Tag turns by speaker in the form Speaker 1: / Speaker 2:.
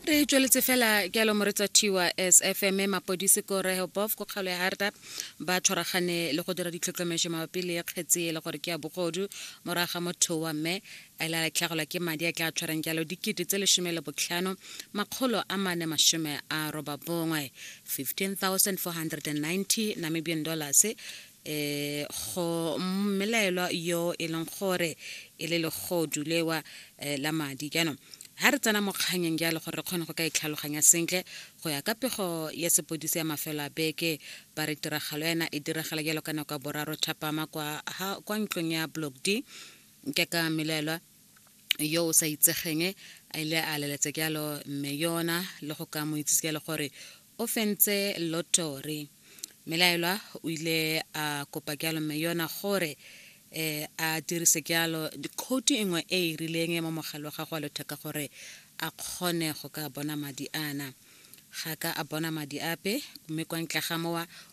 Speaker 1: Re tsweletse fela jalo, moretsa thiwa SFM. Mapodisi ko Rehoboth ko kgaolo ya Hardap ba tshwaragane le go dira ditlhotlhomišo mabapi le kgetsi e le gore ke ya bogodu, morago ga motho wa mme a ile a latlhegelwa ke madi a tla tshwarang jalo 15,490 15,490 Namibian dollars, go mmelaelwa yo e leng gore e le legodu lewa la madi. Jaanong ha re tsena mo kganyeng jalo gore re kgone go ka itlhaloganya sentle, go ya ka pego ya sepodisi ya mafelo a beke, ba re tiragalo ena e diragala jalo ka nako ya 3 thapama kwa ntlong ya Block D, ke ka mmelaelwa yo o sa itsegeng a ile a leletsa jalo mme yona le go ka mo itsise jalo gore o fentse lottery. Melaelwa o ile a kopa jalo mme yona gore a dirise jalo dikhoutu nngwe e e rileng mo mogala wa gagwe wa letheka gore a kgone go ka bona madi ana. Ga ka a bona madi ape, mme kwa ntle ga mowa